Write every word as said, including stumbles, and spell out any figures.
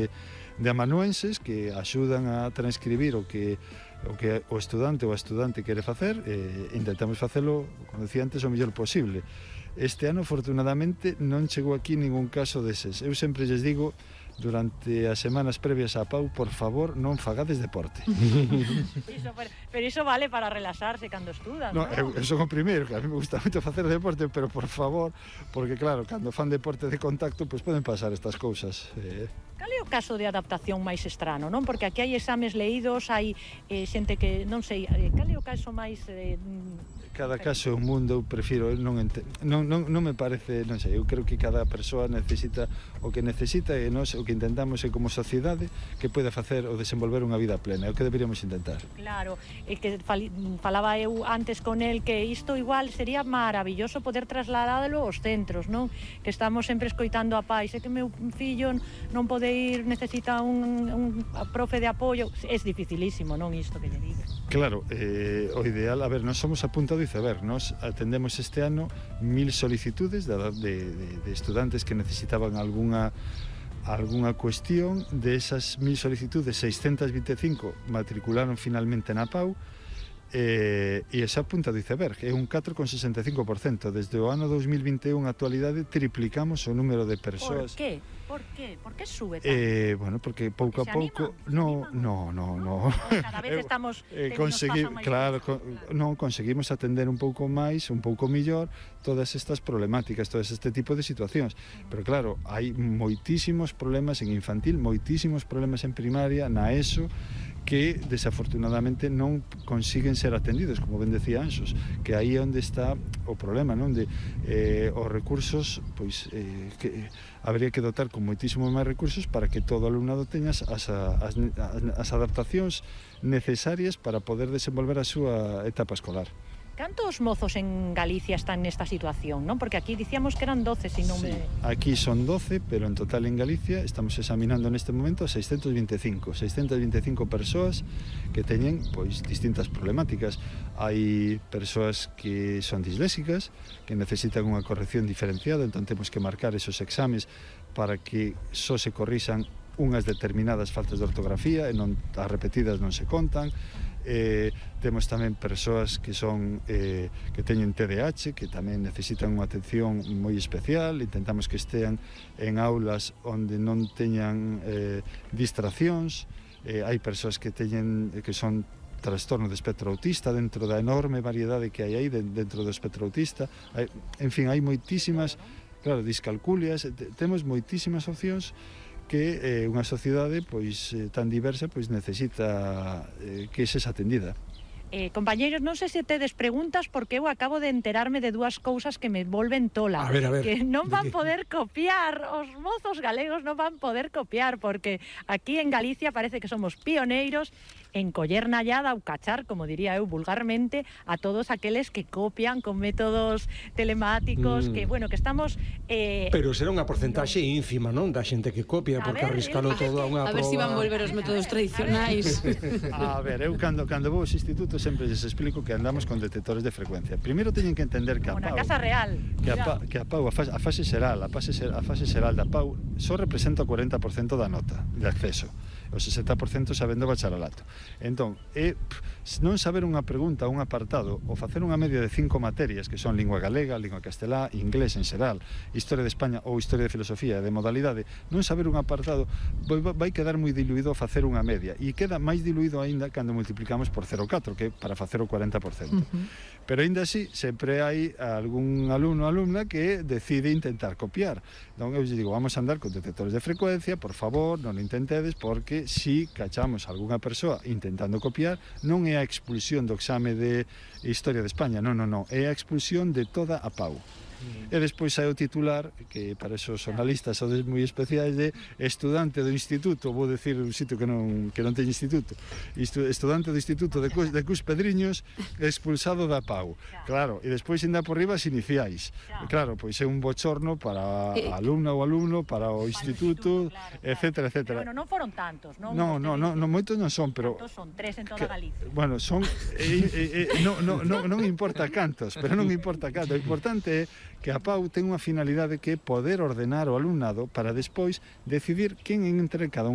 de amanuenses que axudan a transcribir o que o que o estudante ou a estudante quere facer, e intentamos facelo, como decía antes, o mellor posible. Este ano, afortunadamente, non chegou aquí ningún caso deses. Eu sempre lles digo, durante as semanas previas á P A U, por favor, non fagades deporte. Iso, pero, pero iso vale para relaxarse cando estudas, no, non? Eu, eu son o primeiro, que a mí me gusta moito facer deporte, pero por favor, porque claro, cando fan deporte de contacto, pois poden pasar estas cousas. Eh... Cal é o caso de adaptación máis estrano, non? Porque aquí hai exames leídos, hai eh, xente que, non sei, eh, cal é o caso máis... Eh, cada caso é un mundo, eu prefiro, non, ente... non, non, non me parece, non sei, eu creo que cada persoa necesita o que necesita e nós o que intentamos é como sociedade que poida facer ou desenvolver unha vida plena, é o que deberíamos intentar. Claro, é que falaba eu antes con el que isto igual sería maravilloso poder trasladalo aos centros, non? Que estamos sempre escoitando a pais, é que meu fillo non pode ir, necesita un, un profe de apoio, é dificilísimo, non isto que lle digo. Claro, eh, o ideal, a ver, nós somos a punta do iceberg, nós atendemos este ano mil solicitudes de, de, de estudantes que necesitaban algunha algunha cuestión. De esas mil solicitudes, seiscentas vinte e cinco matricularon finalmente na P A U, eh, e esa punta do iceberg é un catro coma sesenta e cinco por cento. Desde o ano dos mil vinte e un a actualidade triplicamos o número de persoas. Por que? Por que? Por que sube tanto? Eh, bueno, porque pouco porque a pouco no, no, no, no. Cada vez estamos eh, consegui, claro, con, non conseguimos atender un pouco máis, un pouco millor todas estas problemáticas, todas este tipo de situacións. Pero claro, hai moitísimos problemas en infantil, moitísimos problemas en primaria, na ESO, que desafortunadamente non consiguen ser atendidos, como ben decía Anxos, que aí é onde está o problema, non? De eh, os recursos, pois eh, que habría que dotar con moitísimos máis recursos para que todo o alumnado teña as, as, as, as adaptacións necesarias para poder desenvolver a súa etapa escolar. Cantos mozos en Galicia están nesta situación, non? Porque aquí dicíamos que eran doce, se non me... Sí, aquí son doce, pero en total en Galicia estamos examinando neste momento seiscentos vinte e cinco persoas que teñen, pois, distintas problemáticas. Hai persoas que son disléxicas, que necesitan unha corrección diferenciada, entón temos que marcar esos exames para que só se corrixan unhas determinadas faltas de ortografía e non as repetidas non se contan. Eh, temos tamén persoas que son eh, que teñen T D A H, que tamén necesitan unha atención moi especial. Intentamos que estean en aulas onde non teñan eh, distraccións. Eh, hai persoas que teñen que son trastorno de espectro autista, dentro da enorme variedade que hai aí dentro do espectro autista. Hai, en fin, hai moitísimas, claro, discalculias, temos moitísimas opcións que eh, unha sociedade pois eh, tan diversa pois necesita eh, que ses atendida. Eh, compañeiros, non sei se tedes preguntas, porque eu acabo de enterarme de dúas cousas que me volven tola. A ver, a ver. Que non van poder copiar, os mozos galegos non van poder copiar, porque aquí en Galicia parece que somos pioneiros en coller na llada ou cachar, como diría eu vulgarmente, a todos aqueles que copian con métodos telemáticos, mm. que, bueno, que estamos... Eh, Pero será unha porcentaxe no. ínfima, non? Da xente que copia, a porque ver, arriscalo todo a unha A ver se si van volver os métodos tradicionais. A ver, eu cando, cando vou aos institutos sempre les explico que andamos con detectores de frecuencia. Primeiro teñen que entender que a P A U... Como na Casa Real. Que a, pa, que a P A U, a fase, a fase xeral, a fase, a fase xeral da P A U só representa o cuarenta por cento da nota de acceso. O sesenta por cento sabendo bacharelato. Entón, é non saber unha pregunta, un apartado, ou facer unha media de cinco materias, que son lingua galega, lingua castelá, inglés en xeral, historia de España ou historia de filosofía, de modalidade, non saber un apartado vai quedar moi diluído a facer unha media, e queda máis diluído aínda cando multiplicamos por cero vírgula catro, que para facer o cuarenta por cento. Uh-huh. Pero aínda así, sempre hai algún alumno ou alumna que decide intentar copiar. Entón, eu digo, vamos a andar con detectores de frecuencia, por favor, non o intentedes, porque si cachamos algunha persoa intentando copiar, non é a expulsión do exame de Historia de España, non, non, non, é a expulsión de toda a P A U. Mm. E despois hai o titular, que para esos xornalistas sodes moi especiais, de estudante do instituto, vou decir un sitio que non, que non ten instituto, estudante do instituto de Cus, de Cus Pedriños expulsado da P A U. Claro, e despois ainda por riba as iniciais. Claro, pois é un bochorno para a alumna ou alumno, para o instituto, etcétera, etcétera. Bueno, non foron tantos, non? Non, non, non, non moitos non son, pero... Cantos son? Tres en toda Galicia. Bueno, son... Eh, eh, eh, non, non, non, non importa cantos, pero non importa cantos. O importante é que a P A U ten unha finalidade que é poder ordenar o alumnado para despois decidir quen entre cada unha